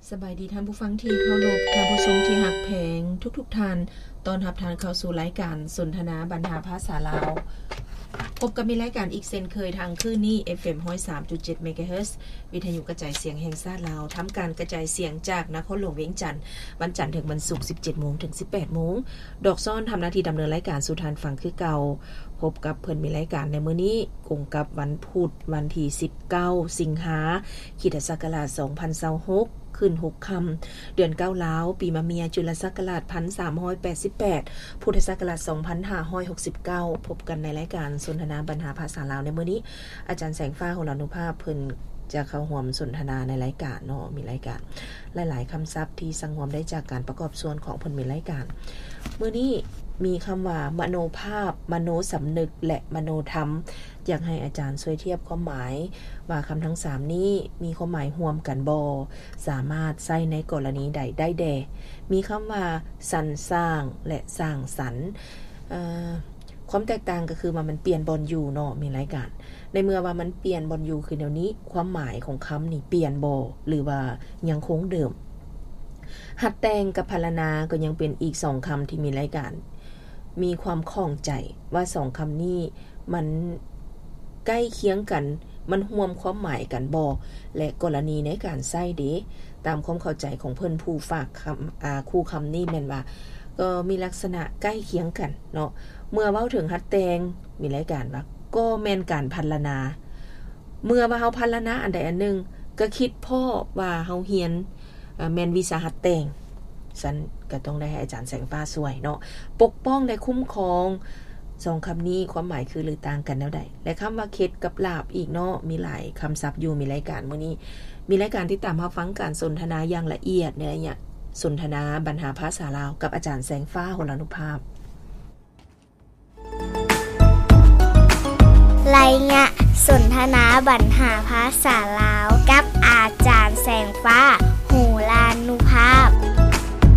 ສະບາຍດີທ່ານຜູ້ຟັງທີ່ເຄົາລົບ, ທ່ານຜູ້ຊົມທີ່ຮັກແພງທຸກໆທ່ານ, ຕ້ອນຮັບທ່ານເຂົ້າສູ່ລາຍການສົນທະນາບັນຫາພາສາລາວ. ພົບກັບມີລາຍການອີກເຊັ່ນເຄີຍທາງຄື້ນນີ້ ເອັຟເອັມ ຮ້ອຍສາມຈຸດເຈັດ ເມກາເຮີດ ວິທະຍຸກະຈາຍສຽງແຫ່ງຊາດລາວ, ທຳການກະຈາຍສຽງຈາກນະຄອນຫຼວງວຽງຈັນ, ວັນຈັນເຖິງວັນສຸກ ສິບເຈັດໂມງເຖິງ ສິບແປດໂມງ. ດອກຊອນທຳໜ້າທີ່ດຳເນີນລາຍການສູ່ທ່ານຟັງຄືເກົ່າ. ພົບກັບເພິ່ນມີລາຍການໃນມື້ນີ້ ກົງກັບວັນພຸດ ວັນທີສິບເກົ້າ ສິງຫາ ຄຣິສຕະສັກກະລາດ ສອງພັນຊາວຫົກ ຂຶ້ນຫົກຄ່ຳ ເດືອນເກົ້າລາວ, ປີມະເມຍ ຈຸລະສັກກະລາດ ພັນສາມຮ້ອຍແປດສິບແປດ ພຸດທະສັກກະລາດ ສອງພັນຫ້າຮ້ອຍຫົກສິບເກົ້າ. ພົບກັນໃນລາຍການສົນທະນາບັນຫາພາສາລາວໃນມື້ນີ້. ອາຈານແສງຟ້າ ໂຫລານຸພາບ ເພິ່ນຈະເຂົ້າຮ່ວມສົນທະນາໃນລາຍການເນາະ, ມີລາຍການ ຫຼາຍໆຄຳສັບທີ່ສັງຮວມໄດ້ຈາກການປະກອບສ່ວນຂອງເພິ່ນມີລາຍການ. ມື້ນີ້ມີຄຳວ່າ ມະໂນພາບ, ມະໂນສຳນຶກ ແລະ ມະໂນທຳ. ຢາກໃຫ້ອາຈານຊ່ວຍທຽບຄວາມໝາຍວ່າຄຳທັງສາມນີ້ມີຄວາມໝາຍຮ່ວມກັນບໍ່? ສາມາດໃຊ້ໃນກໍລະນີໃດໄດ້ແດ່? ມີຄຳວ່າ ສັນສ້າງ ແລະ ສ້າງສັນ. ເອີ ຄວາມແຕກຕ່າງກໍຄືວ່າມັນປ່ຽນບ່ອນຢູ່ເນາະ, ມີລາຍການ ໃນເມື່ອວ່າມັນປ່ຽນບ່ອນຢູ່ຄືແນວນີ້, ຄວາມໝາຍຂອງຄຳນີ້ປ່ຽນບໍ່ ຫຼືວ່າຍັງຄົງເດີມ? ຫັດແຕ່ງກັບພັນລະນາກໍຍັງເປັນອີກສອງຄຳທີ່ມີລາຍການ ມີຄວາມຂ້ອງໃຈວ່າສອງຄຳນີ້ມັນໃກ້ຄຽງກັນ, ມັນຮ່ວມຄວາມໝາຍກັນບໍ່ ແລະ ກໍລະນີໃນການໃຊ້ເດ. ຕາມຄວາມເຂົ້າໃຈຂອງເພິ່ນ ຜູ້ຝາກຄຳ ອາ ຄູ່ຄຳນີ້ແມ່ນວ່າ ກໍມີລັກສະນະໃກ້ຄຽງກັນເນາະ. ເມື່ອເວົ້າເຖິງຫັດແຕ່ງ ມີລາຍການວ່າ ກໍແມ່ນການພັນລະນາ. ເມື່ອວ່າເຮົາພັນລະນາອັນໃດອັນໜຶ່ງ ກໍຄິດພໍ້ວ່າເຮົາຮຽນ ເອີ ແມ່ນວິຊາຫັດແຕ່ງ. ຊັ້ນກໍຕ້ອງໄດ້ໃຫ້ອາຈານແສງຟ້າຊ່ວຍເນາະ. ປົກປ້ອງ ແລະ ຄຸ້ມຄອງ ສອງຄຳນີ້ຄວາມໝາຍຄື ຫຼື ຕ່າງກັນແນວໃດ? ແລະ ຄຳວ່າເຂັດກັບຫຼາບອີກເນາະ, ມີຫຼາຍຄຳສັບຢູ່. ມີລາຍການມື້ນີ້ ມີລາຍການຕິດຕາມຮັບຟັງການສົນທະນາຢ່າງລະອຽດໃນໄລຍະສົນທະນາບັນຫາພາສາລາວ ກັບອາຈານແສງຟ້າ ໂຫລານຸພາບ. ໄລຍະສົນທະນາບັນຫາພາສາລາວ.